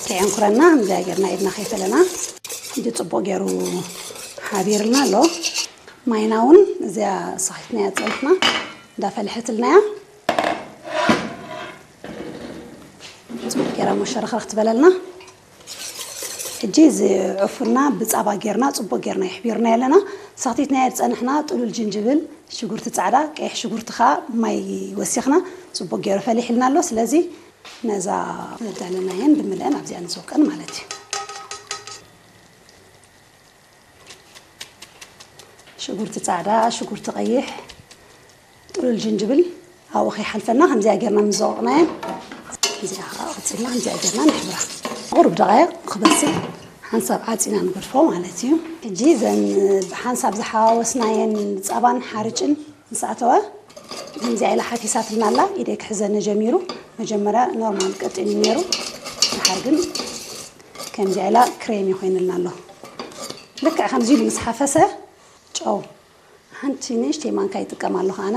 ከየንኩረና እዚኣ ጌርና ኢድና ከይፈለና ሕጂ ጽቡቕ ገይሩ ሓቢርልና ኣሎ። ማይና እውን እዚኣ ሰኺትናያ ጸኒሕና እንዳፈለሐትልና እያ። ጽቡቕ ገይራ መሸርኽረኽ ትበለልና። ሕጂ እዚ ዕፉና ብጻባ ጌርና ጽቡቕ ጌርና ይሕቢርና ኣለና። ሰኽቲትናዮ ዝጸንሕና ጥሉል ጅንጅብል፣ ሽጉርቲ ጻዕዳ፣ ቀይሕ ሽጉርቲ ከኣ ማይ ወሲኽና ጽቡቕ ገይሩ ፈሊሕልና ኣሎ። ስለዚ ነዛ ዘዳለናየን ብምልአን ኣብዚኣ ንዝውቀን ማለት እዩ። ሽጉርቲ ጻዕዳ፣ ሽጉርቲ ቀይሕ፣ ጥሉል ጅንጅብል ኣብኡ ከይሓልፈና ከምዚኣ ጌርና ምስ ዘወቕናየን እዚኣ ከዓ ቀጺልና ከምዚኣ ጌርና ንሕብራ። ቁሩብ ደቓይቕ ክበስል ሓንሳብ ዓጺና ንገድፎ ማለት እዩ። ሕጂ እዘን ብሓንሳብ ዝሓዋወስናየን ጻባን ሓርጭን ምስ ኣተወ ከምዚኣ ኢላ ሓፊሳትልና ኣላ። ኢደይ ክሕዘኒ ጀሚሩ። መጀመርያ ኖርማል ቀጢን እዩ ነይሩ። ድሓር ግን ከምዚኣ ኢላ ክሬሚ ኮይንልና ኣሎ። ልክዕ ከምዚ ኢሉ ምስ ሓፈሰ ጨው ሓንቲ ንእሽተይ ማንካ ይጥቀም ኣለኹ ኣነ።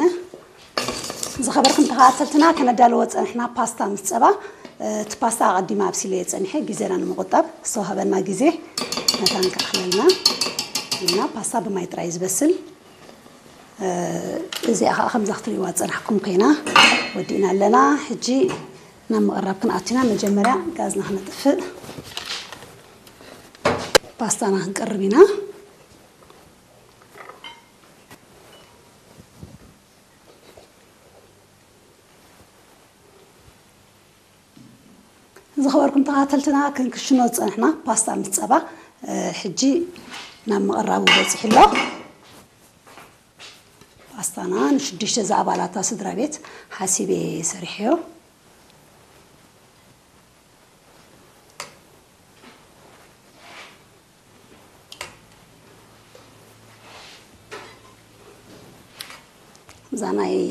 ዝኸበርኩም ተኸታተልትና፣ ከነዳልዎ ጸንሕና ፓስታ ምስ ጸባ። እቲ ፓስታ ኣቐዲመ ኣብሲለዮ ጸኒሐ፣ ግዜና ንምቑጣብ ዝተዋህበና ግዜ መታን ክኣኽለልና ኢልና፣ ፓስታ ብማይ ጥራይ እዩ ዝበስል። እዚኣ ከዓ ከምዛ ክትሪእዋ ዝጸናሕኩም ኮይና ወዲእና ኣለና። ሕጂ ናብ ምቕራብ ክንኣቱ ኢና። መጀመርያ ጋዝና ክነጥፍእ፣ ፓስታና ክንቀርብ ኢና። ዝኸበርኩም ተኸታተልትና፣ ክንክሽኖ ዝጸንሕና ፓስታ ምስ ጸባ፣ እ፣ ሕጂ ናብ ምቕራቡ በጺሑ ኣሎ። ፓስታና ንሽዱሽተ ዝኣባላታ ስድራ ቤት ሓሲበ ሰሪሐዮ። እዛ ናይ